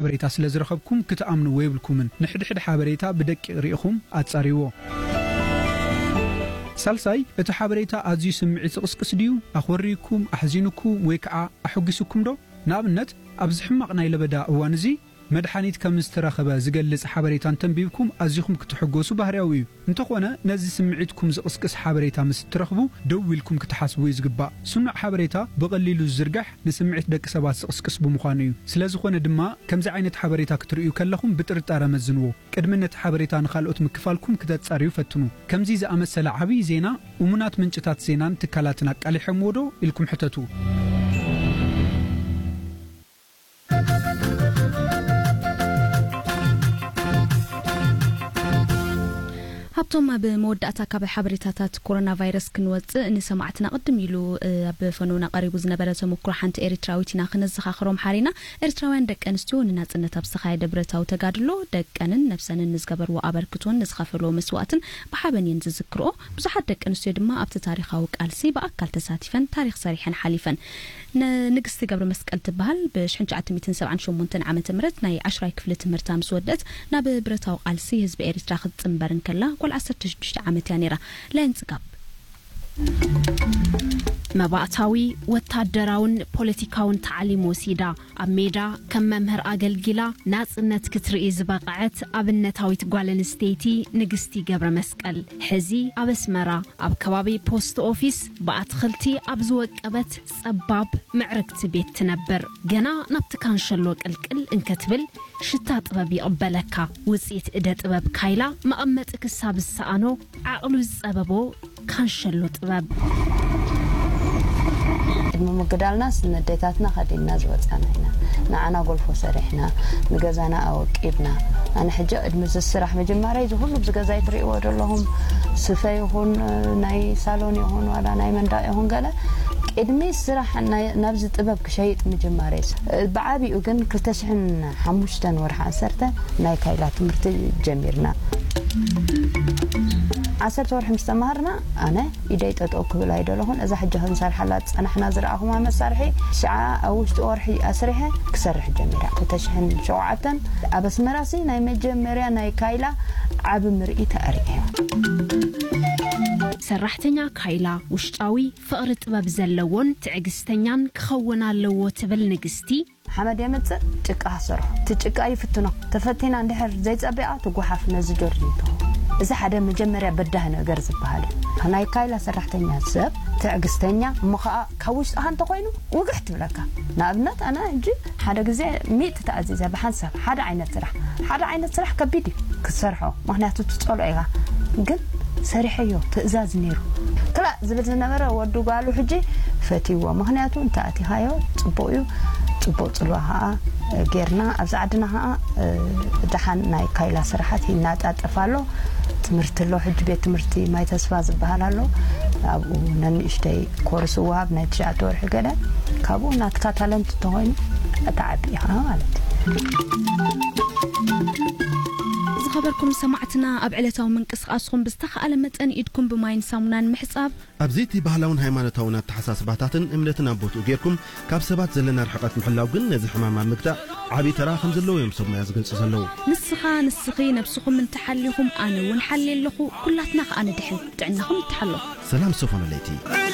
ሓበሬታ ስለ ዝረኸብኩም ክትኣምንዎ የብልኩምን። ንሕድሕድ ሓበሬታ ብደቂቕ ርኢኹም ኣጻርይዎ። ሳልሳይ፣ እቲ ሓበሬታ ኣዝዩ ስምዒት ዝቕስቅስ ድዩ? ኣኾሪኩም፣ ኣሕዚኑኩም ወይ ከዓ ኣሐጒሱኩም ዶ? ንኣብነት፣ ኣብዚ ሕማቕ ናይ ለበዳ እዋን እዚ መድሓኒት ከም ዝተረኸበ ዝገልጽ ሓበሬታ እንተንቢብኩም ኣዚኹም ክትሕጎሱ ባህርያዊ እዩ። እንተኾነ፣ ነዚ ስምዒትኩም ዝቕስቅስ ሓበሬታ ምስ እትረኽቡ፣ ደው ኢልኩም ክትሓስቡ እዩ ዝግባእ። ስኑዕ ሓበሬታ ብቐሊሉ ዝዝርጋሕ ንስምዒት ደቂ ሰባት ዝቕስቅስ ብምዃኑ እዩ። ስለ ዝኾነ ድማ፣ ከምዚ ዓይነት ሓበሬታ ክትርእዩ ከለኹም ብጥርጣረ መዝንዎ። ቅድሚ ነቲ ሓበሬታ ንኻልኦት ምክፋልኩም ክተጻርዩ ፈትኑ። ከምዚ ዝኣመሰለ ዓብዪ ዜና፣ እሙናት ምንጭታት ዜናን ትካላትን ኣቃሊሖምዎ ዶ? ኢልኩም ሕተቱ። ሃብቶም፣ ኣብ መወዳእታ ካብ ሓበሬታታት ኮሮና ቫይረስ ክንወጽእ፣ ንሰማዕትና ቅድም ኢሉ፣ እ፣ ኣብ ፈኖና ቀሪቡ ዝነበረ ተመኩሮ ሓንቲ ኤሪትራዊት ኢና ክነዘኻኽሮም ሓሪና። ኤርትራውያን ደቂ ኣንስትዮ ንናጽነት ኣብ ዝተኻየደ ብረታዊ ተጋድሎ ደቀንን ነብሰንን ንዝገበርዎ ኣበርክቶን ንዝኸፈልዎ መስዋእትን ብሓበን እየን ዝዝክርኦ። ብዙሓት ደቂ ኣንስትዮ ድማ ኣብቲ ታሪኻዊ ቃልሲ ብኣካል ተሳቲፈን ታሪኽ ሰሪሐን ሓሊፈን። ን-፣ ንግስቲ ገብረ መስቀል ትበሃል። ብ ሽሕን ትሽዓተ ሚእትን ሰብዓን ሸሞንተን ዓመተ ምህረት ናይ ዓሽራይ ክፍሊ ትምህርታ ምስ ወደት ናብ ብረታዊ ቃልሲ ህዝቢ ኤሪትራ ክትጽንበር እንከላ ጓል ዓሰርተ ሽዱሽተ ዓመት እያ ነይራ። ላይን ጽጋብ። መባእታዊ ወታደራውን ፖለቲካውን ታዕሊም ወሲዳ፣ ኣብ ሜዳ ከም መምህር ኣገልጊላ ናጽነት ክትርኢ ዝበቕዐት ኣብነታዊት ጓል ኣንስተይቲ ንግስቲ ገብረ መስቀል፣ ሕዚ ኣብ ኣስመራ ኣብ ከባቢ ፖስት ኦፊስ ብኣትኽልቲ ኣብ ዝወቀበት ጸባብ ምዕርግቲ ቤት ትነብር። ገና ናብቲ ካንሸሎ ቅልቅል እንከትብል ሽታ ጥበብ ይቕበለካ። ውጽኢት እደ ጥበብ ካይላ መቐመጢ ክሳብ ዝሰኣኖ ዓቕሉ ዝጸበቦ ካንሸሎ ጥበብ። ቅድሚ ምግዳልናስ ነዴታትና ከዲንና ዝወጻና ኢና። ንዓና ጎልፎ ሰሪሕና፣ ንገዛና ኣወቂብና። ኣነ ሕጂ ቅድሚ እዚ ስራሕ ምጅማረይ፣ እዚ ኩሉ ኣብዚ ገዛይ ትርእይዎ ዘለኹም ስፈ ይኹን፣ ናይ ሳሎን ይኹን፣ ዋላ ናይ መንደቕ ይኹን ገለ፣ ቅድሚ ስራሕ ናይ፣ ናብዚ ጥበብ ክሸይጥ ምጅማረይ፣ ብዓቢኡ ግን ክልተ ሽሕን ሓሙሽተን ወርሒ ዓሰርተ ናይ ካይላ ትምህርቲ ጀሚርና። ዓሰርተ ወርሒ ምስ ተማሃርና፣ ኣነ ኢደይ ጠጠው ክብል ኣይደለኹን። እዛ ሕጂ ክንሰርሓላ ዝጸናሕና ዝረኣኹማ መሳርሒ፣ ሽዓ ኣብ ውሽጢ ወርሒ ኣስሪሐ ክሰርሕ ጀሚራ። ክልተ ሽሕን ሸውዓተን ኣብ ኣስመራሲ ናይ መጀመርያ ናይ ካይላ ዓቢ ምርኢት ኣርእየ። ሰራሕተኛ ካይላ ውሽጣዊ ፍቕሪ ጥበብ ዘለዎን ትዕግስተኛን ክኸውን ኣለዎ ትብል ንግስቲ። ሓመድ የምጽእ፣ ጭቃ ሰርሖ። እቲ ጭቃ ይፍትኖ። ተፈቲና እንድሕር ዘይጸቢቓ ትጓሓፍ ነዚ ጆርዲን ትኸውን። እዚ ሓደ መጀመርያ በዳሂ ነገር ዝበሃል እዩ። ናይ ካይላ ሰራሕተኛ ሰብ ትዕግስተኛ፣ እሞ ኸኣ ካብ ውሽጥኻ እንተኾይኑ ውግሕ ትብለካ። ንኣብነት ኣነ ሕጂ ሓደ ግዜ ሚእቲ ተኣዚዘ ብሓንሳብ ሓደ ዓይነት ስራሕ። ሓደ ዓይነት ስራሕ ከቢድ እዩ ክትሰርሖ፣ ምኽንያቱ ትጸልኦ ኢኻ። ግን ሰሪሐዮ፣ ትእዛዝ ነይሩ። ክላእ ዝብል ዝነበረ ወዲ ጓሉ ሕጂ ፈትይዎ። ምኽንያቱ እንተ ኣቲኻዮ ጽቡቕ እዩ፣ ጽቡቕ ጽልዋ ኸኣ ጌርና። ኣብዚ ዓድና ኸኣ፣ እ፣ ደሓን ናይ ካይላ ስራሓት ይናጣጠፍ ኣሎ። ትምህርቲ ኣሎ፣ ሕጂ ቤት ትምህርቲ ማይ ተስፋ ዝበሃል ኣሎ። ኣብኡ ነንእሽተይ ኮርስ እወሃብ ናይ ትሽዓተ ወርሒ ገለ። ካብኡ ናትካ ታለንት እንተኾይኑ እትዓቢ ኢኻ ማለት እዩ። ዝኸበርኩም ሰማዕትና፣ ኣብ ዕለታዊ ምንቅስቓስኹም ብዝተኻእለ መጠን ኢድኩም ብማይን ሳሙናን ምሕጻብ። ኣብዚ እቲ ባህላውን ሃይማኖታውን ኣተሓሳስባታትን እምነትን ኣብ ቦትኡ ጌርኩም፣ ካብ ሰባት ዘለና ርሕቐት ምሕላው ግን ነዚ ሕማም ኣብ ምግታእ ዓቢ ተራ ከም ዘለዎ እዮም ሰብ ሞያ ዝገልጹ ዘለዉ። ንስኻ፣ ንስኺ ነብስኹም እንተሓሊኹም፣ ኣነ እውን ሓልየ ኣለኹ፣ ኩላትና ከኣ ንድሕን። ጥዕናኹም ይተሓሎ። ሰላም ሶፎን ለይቲ።